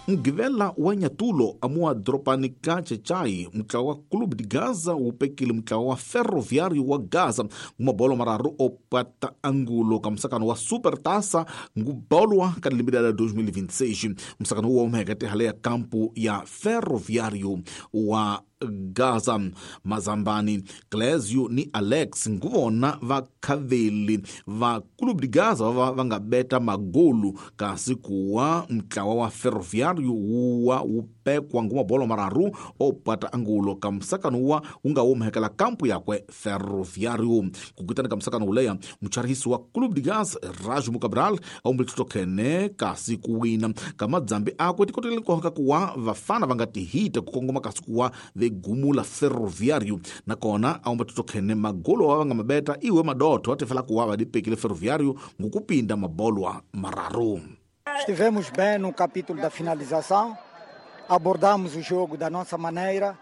Mugqivela wa Nyatulo amuwa doropani ka Chechai, mutlawa wa Clube de Gaza wu pekile mutlawa wa Ferroviário wa Gaza ngumabolo mararu opata angulo ka musakano wa Supertaça ngubolwa ka lembe la 2026. Musakano wu humeke hale ya kampu ya Ferroviário wa Gaza. Mazambani Clésio ni Alex nguvona vakhaveli va Clube de Gaza va nga beta magolu, kasi kuwa mutlawa wa Ferroviário wuwa wu pekwa ngumabolo mararu opata angulo ka musakano wa wu nga humekela kampu yakwe Ferroviário. Kukutana ka musakano wuleya, mucharihisi wa Clube de Gaza Erasmo Cabral aumbile titokhene kasi kuwina ka madzambi akwe tikotele nkoka kuwa vafana va nga tihita ku kongoma kasi kuwa vegumula Ferroviário. Nakona aumba titokhene magolo wa va nga mabeta iwe madotho atifela kuwa va dipekile Ferroviário ngukupinda mabolwa mararu. Estivemos bem no capítulo da finalização, abordamos o jogo da nossa maneira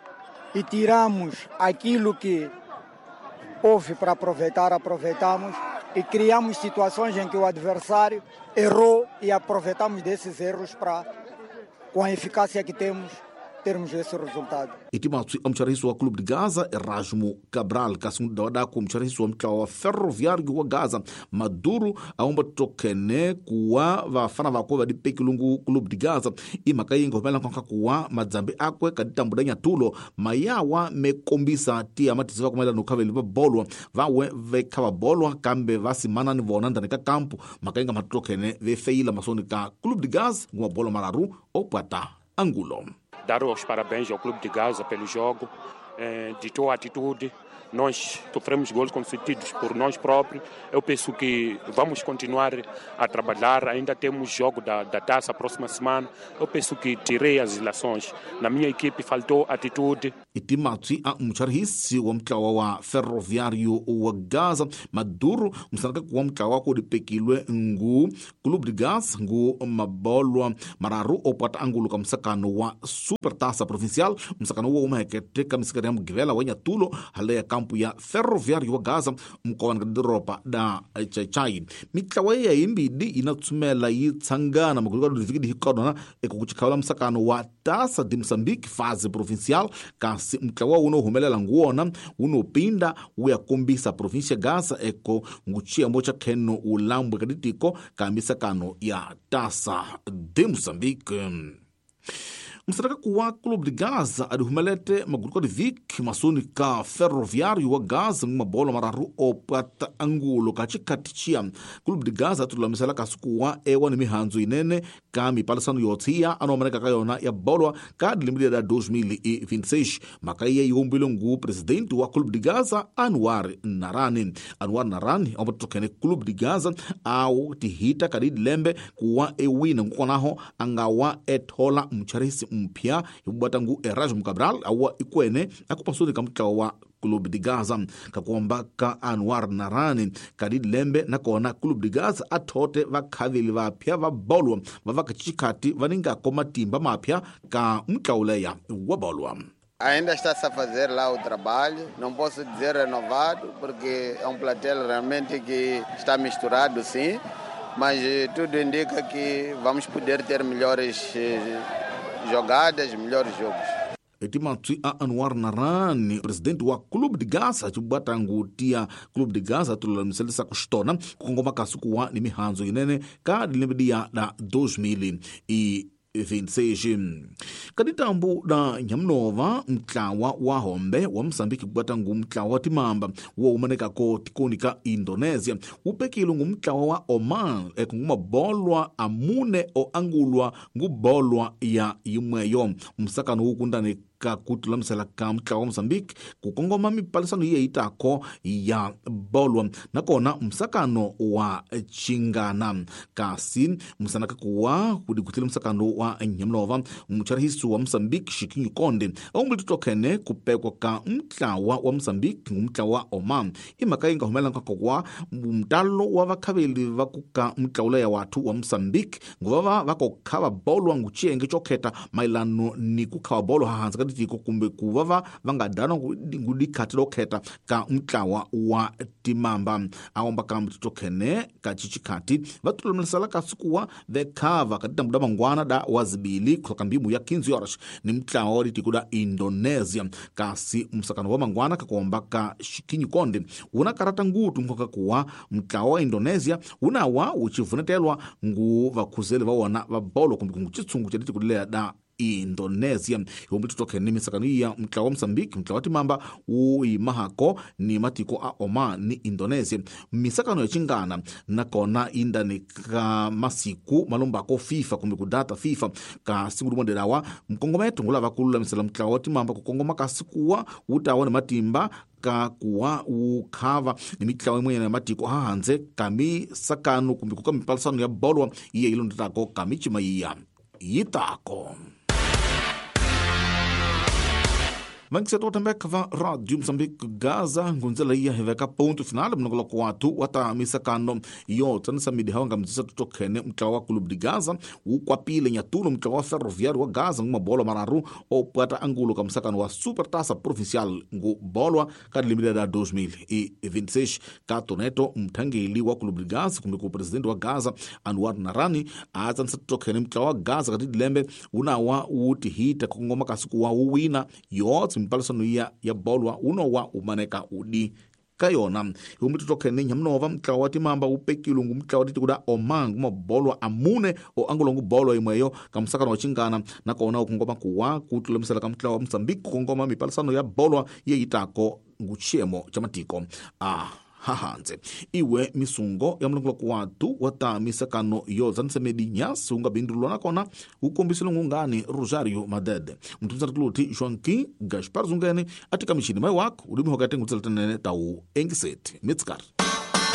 e tiramos aquilo que houve para aproveitar, aproveitamos e criamos situações em que o adversário errou e aproveitamos desses erros para, com a eficácia que temos, termos esse resultado. Itimatswi a mucharihisi wa Clube de Gaza Erasmo Cabral, kasi mudawadaku mucharihisi wa mutlawa wa Ferroviário wa Gaza Maduro aumba tokene kuwa vafana vakwe va dipekilungu Clube de Gaza. I mhaka yi nga humela nkonka kuwa madzambi akwe ka ditambu da Nyatulo mayawa me kombisa tiya matisi va kumela no khaveli va bolwa vawe ve kha va bolwa kambe va simana ni vona ndzani ka kampu. Mhaka yi nga matokene ve feyila masoni ka Clube de Gaza nguma bolo mararu opata angulo. Dar os parabéns ao Clube de Gaza pelo jogo, ditou a atitude. Nós sofremos gols concedidos por nós próprios. Eu penso que vamos continuar a trabalhar. Ainda temos jogo da taça próxima semana. Eu penso que tirei as ilações. Na minha equipe faltou atitude. Itimatswi a mucharihisi wa mutlawa wa Ferroviário wa Gaza Maduro musanaka kuwa mutlawa ku dipekilwe ngu Clube de Gaza ngu mabolwa mararu opata angulo ka musakano wa Supertaça Provincial. Musakano wa umehekete ka misikari ya Mugqivela wa Nyatulo hale ya kampu ya Ferroviário wa Gaza mkoani ka doropa da Chechai. Mitlawa ya yimbidi inatsumela yi tsangana magulu ka divikidi hikodona ekukuchikhavela musakano wa Taça de Moçambique fase provincial, kasi mutlawa wuno humelela nguwona wunopinda wu ya kombisa província Gaza eko nguchiyambo cha kheno ulambwe kaditiko ka misakano ya Taça de Moçambique. Musaraka kuwa Clube de Gaza adihumelete maguluka de Vic masoni ka Ferroviário wa Gaza ngumabolo mararu opata angulo ka chikati chia Clube de Gaza atulamisela kasi kuwa ewa ni mihanzu inene ka mipalisano yotsiya anomaneka ka yona ya bolwa ka dilembe da 2026. Mhaka iye yi ngu presidente wa Clube de Gaza Anwar Narani. Anwar Narani ombatokene Clube de Gaza au tihita ka dilembe kuwa ewina ngukonaho angawa ethola mcharisi mpya hibubata ngu Erasmo Cabral awa ikwene akupasuni ka mutlawa wa Clube de Gaza. Kakuomba ka Anwar Narani kadi lembe nakona Clube de Gaza athote vakhaveli vapya va bolwa va vakachikati vaningako matimba mapya ka mutlawuleya wa bolwa. Ainda está-se a fazer lá o trabalho, não posso dizer renovado, porque é um plantel realmente que está misturado, sim, mas tudo indica que vamos poder ter melhores jogadas, melhores jogos. Etimatswi a Anwar Narani, presidente wa Clube de Gaza, chibata ngutia Clube de Gaza tululamiselisa kuxitona kukongoma kasi kuwa ni mihandzo yinene ka dilembe diya da 2026. Kaditambu da Nyamunova, mtlawa wa Hombe wa Msambiki kubata ngu mtlawa wa Timamba wo umanekako tikoni ka Indonesia upekile ngu mtlawa wa Oman ekungumabolwa amune o angulwa ngubolwa ya yimweyo. Msakano wukundani ka kutulamisela ka mutlawa wa Mozambique kukongoma mipalisano iye itako ya bolwa nakona msakano wa chingana. Kasi msanaka kuwa kudikutile msakano wa Nyamlova mucharihisi wa Mozambique Chiquinho Conde aumbulititokhene kupekwa ka mutlawa wa Mozambique ngumutlawa wa Oman. Imhaka yi nga humelela nkoka mtalo wa vakhaveli va kuka mutlawula ya wathu wa Mozambique nguvava va ko khava bolwa nguchiyenge chokheta mayelano ni ku khava bolwa hansi ka ditiko kumbe ku va va nga dana ngudikhati lokheta ka mutlawa wa timamba aomba ka mtitokhene ka chichikhati va tulumisela ka sikuwa vekhava ka ditambu da mangwana da wazibili kusoka mbimu ya 15 horas ni mutlawa wa ditiko da Indonesia. Kasi msakano wa mangwana kakuomba ka shikinyi konde una karata ngutu nkoka kuwa mutlawa wa Indonesia unawa uchivunetelwa ngu vakhuzeli va wona va bolo kumbe kungu chitsungu cha ditiko lea da Indonesia. Yombi tutoke ni misakano ya mtlawa wa Mozambique, mtlawa wa timamba uimahako ni matiko a Oman ni Indonesia. Misakano ya chingana nakona indani ka masiku malombako FIFA kumbe kudata FIFA ka siku limondelawa mkongometo ngulava kululamisela mtlawa wa timamba kukongoma kasikuwa utawa ni matimba kakuwa ukhava ni mitlawa imwe ya matiko ahanze kamisakano kumbe kukamipalisano ya bolwa iye ilondetako kamichima iya yitako. Vankiseto tambeka va Radio Mozambique Gaza ngunzela iya hiveka ponto final mnongoloko watu wata misakano yo tsanisa midi hawa ngamzisa tutokhene mtlawa wa Clube de Gaza ukwapile nyatulo mtlawa wa Ferroviário wa Gaza ngumabolo mararu opwata angulo ka msakano wa Supertaça Provincial ngubolwa ka limile da 2026 ka toneto mthangeli wa Clube de Gaza kumbe ku presidente wa Gaza Anwar Narani atsanisa tutokhene mtlawa wa Gaza kati dilembe unawa utihita kungoma kasiku wa uwina yotse mpalisano ya bolwa unowa umaneka udi kayona. Yombi tutokhene nyamnova mtlawa wa timamba upekile ngu mtlawa tikuda Oman ngumabolwa amune o angulo ngubolwa imweyo kamsakano wa chingana nakona ukungoma kuwa kutulemisela kamtlawa wa Mozambique kungoma mipalisano ya bolwa yeyitako nguchiemo cha matiko a hahanze. Iwe misungo ya mlongoloko watu wata misakano yozanisemedi nyasi ungabindulwa nakona ukombisile ngungani Rosario Madede mtumzatuluti Joaquim Gaspar Zungene atika mishini mai wako ulimi hokate ngutseletenene tau engiseti mitskar.